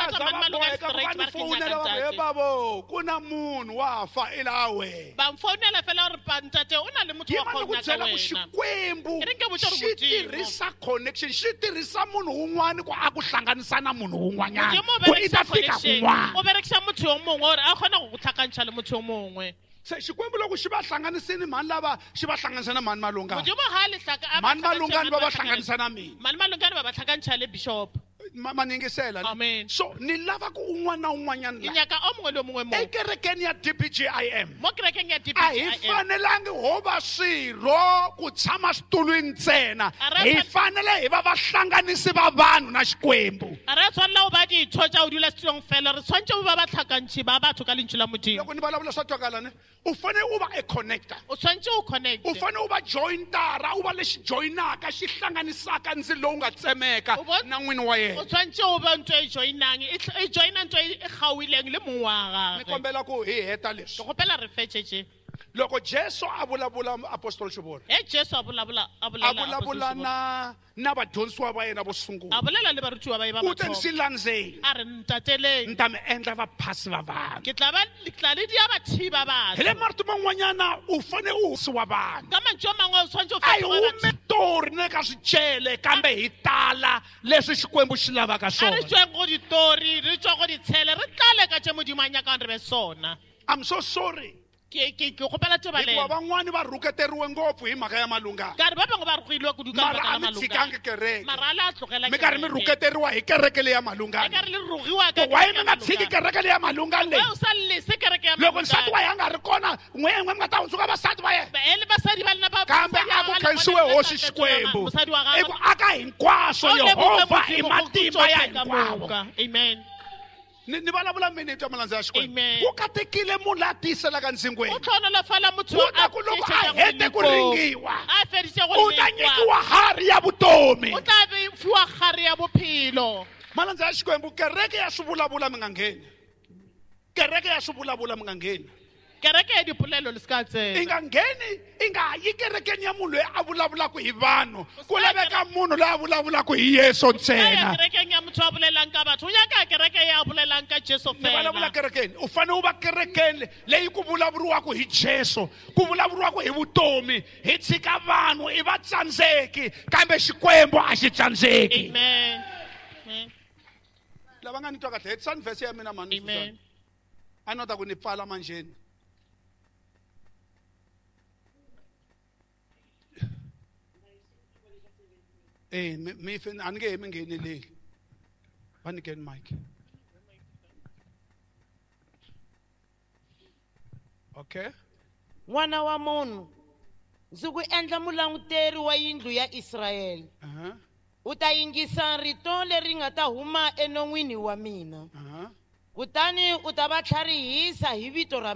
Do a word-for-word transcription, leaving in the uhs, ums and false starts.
Va za batla va mane Malungane boheka ku va straight ni ba re ke fowunela nyaka va ku he ntate. babo ku na munhu wa fa i laha wena Ba mfounela fela gore pa ntate o na le motho wa yima ni go ku nyaka byela ku wena. Xikwembu E re nke botse gore xi Modimo. tirhisa connection, xi tirhisa munhu wun'wani ku a ku hlanganisa na munhu wun'wanyana Modimo o ku i ta berekisa fika connection. kun'wana. O berekisa motho yo mongwe gore a kgone go go tlhakantšha le motho yo mongwe. Se Xikwembu loko xi va hlanganisini mhani lava xi va hlanganisa na mhani Malungane. Modimo ga a le hlaka- a ba Mhani Malungane va va hlakantšha hlanganisa na mina. Mane Malungane ba ba tlhakantšha le bishop. Ma ma ni yingisela ne? Amen. So ni lava ku un'wana na un'wanyana Ke la nyaka o mongwe le o mongwe mo. Ekerekeni ya D B G I M, Mo kerekeng ya a hi D B G I M. fanelangi ho va swirho ku tshama switulwini ntsena. A ra Hi fan- fanele hi va vahlanganisi va vanhu na Xikwembu. A re a tshwanela go ba ditho tša go dula setulong fela, re tshwanetse go ba batlhakantšhi ba batho ka lentšu la Modimo. Loko ni vulavula swa twakala ne? U fanele u va a connector. O tshwanetse o connect. U fanele u va jointara, u va lexi joinaka xi hlanganisaka ndzilo lowu nga tsemeka U bon- na n'wini wa yena. O tshwanetse o be ntho e joinang, e tl- e joina ntho e kgaoileng le mong wa Ni gagwe. kombela ku hi heta leswi. Ke kgopela re fetše tše. Loko Jesu a vulavula apostol Xivona, Ge Jesu a bolabola a a bolela vulavula Apostle Xivona, na na vadyondzisiwa va yena vo sungula, a bolela le barutiwa ba e ba u te mathomo. ndzi landzeni, A re ntateleng, ni ta mi endla vaphasi va vanhu. Ke tla ba ke tla le dia bathiba Hi le batho. marito man'wanyana u fanele u wa vanhu. Ka mantšu a mangwe o tshwanetse o A hi fetoge batho. hume tori na le ka swicele kambe hi tala leswi Xikwembu xi lavaka A re swona. tsweng go ditori, re tswe go ditshele, re tlale ka tše Modimo a nyakang re be sona. I'm so sorry. Ke ke ke kgopela Hikuva tebalelo. Van'wani va rhuketeriwe ngopfu hi mhaka ya Malungana. Ka re ba bangwe ba rogilwe kudu ka Mara lebaka a la mi Malungane. tshikangi kereke. Mara a le a tlogela Mi karhi mi kereke. rhuketeriwa hi kereke leyi ya E Malungana. ka re le rogiwa ka Ku why kereke mi ya nga tshiki Malungane. kereke leyi ya Malungana leyi? Why o sa lese kereke ya Loko nsati Malungane? wa yena a nga ri kona, n'we n'we mi nga ta hundzuka vasati va yena. Ba- e le basadi ba lena ba- Kambe mosadi a wa ku gagwe le khensiwe bona hosi le tla Xikwembu. mosadi wa gagwe. I ku aka hinkwaswo, A o lebohe Yehovha i Modimo go matimba ya tsohle ka hinkwavo. moka. Amen. Ni ni vulavula mini hi twa malandza ya Xikwembu? Amen. Ku katekile munhu la tiyiselaka ndzingweni. O tlhonolofala motho Ku ta a ku loko a tiišetšago hete ku molekong. ringiwa, A feditše go u ta lekwa. nyikiwa harhi ya vutomi. O tla be fiwa kgare ya bophelo. Malandza ya Xikwembu, kereke ya swi vulavula mi nga ngheni. Kereke ya swi vulavula mi nga ngheni. Kereke ya dipolelo le se ka I tsena. nga ngheni, i nga yi kerekeni ya munhu loyi a vulavulaka hi vanhu. Ku laveka munhu loyi a vulavulaka hi Yesu Ka ya ntsena. kerekeng ya motho a bolelang ka batho, o nyaka kereke ya bolelang ka Jesu Ni vulavula fela. kerekeni, u fanele u va kerekeni leyi ku vulavuriwaka hi Jesu, ku vulavuriwaka hi vutomi. Hi tshika vanhu i va tsandzeki, kambe Xikwembu a xi tsandzeki. Amen. Amen. Lava nga ni twa kahle, hetisani verse ya mina mhani. Amen. A ni ta ku ni pfala manjheni. Eh, mi mi fe- a ni nge he mi ngheneleli. Va nyikeni mic. Okay. N'wana wa munhu, ndzi ku endla mulanguteri wa yindlu ya Israyele. Uh-huh. U ta yingisa rito leri nga ta huma enon'wini wa mina. Uh-huh. Kutani u ta va tlharihisa hi vito ra